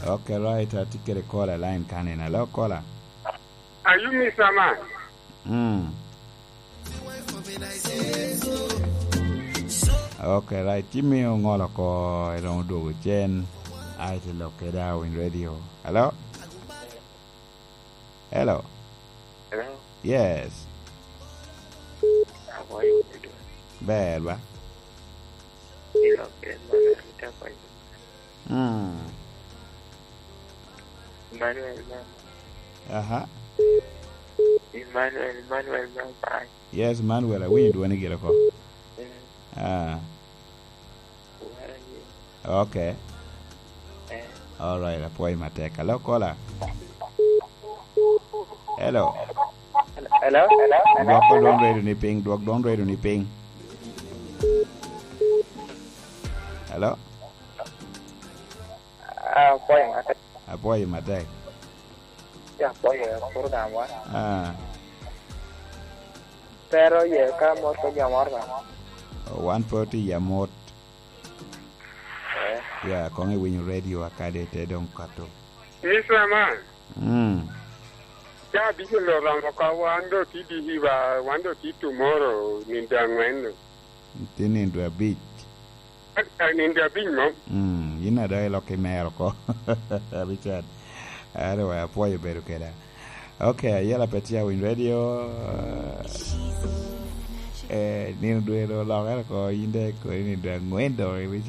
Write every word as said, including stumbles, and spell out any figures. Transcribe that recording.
Okay, right. Atye kede caller line kanina. Hello, caller. Are you Mister Man? Mm. Okay, right. Ci miyo ŋolo oko, iromo dwogo cen. Ai, te lok kede Awiny Radio. Hello? Hello? Hello? Yes. How are you doing? Ber ba? You know, Emmanuel, thank you. Mm. Emmanuel, mama. Aha. Emmanuel, Emmanuel, mama. Yes, Manuel, awinyo dwoni gire oko. Mm. Ah. Wara ye. Okay. Eh. All right, apwoyo matek. Hello, caller. Hello. Hello, hello, hello. Dwok dwon radio ni piny, dwok dwon radio ni piny. Hello. Ah, apwoyo matek. Apwoyo matek. Ya, apwoyo, puro daŋ wa. Ah. Pero ye ka mot ko jam oro. Wan pe otye i amot. Eh. Ya, koŋ iwinyo radio akade te doŋ kato. Mister Man. Mm. Ca abic oromo ka wan do tye diki ba, wan do tye tomorrow nindo angwen no. Tye nindo abic. Eh, nindo abic mom. Mm, yin ada ilok i mero oko. Richard. Anyway, apwoyo bedo keda. Okay, ayela pe tye Awiny Radio. Eh, nino dwe do olokere oko, yin de kodi nindo angwen do, Richard.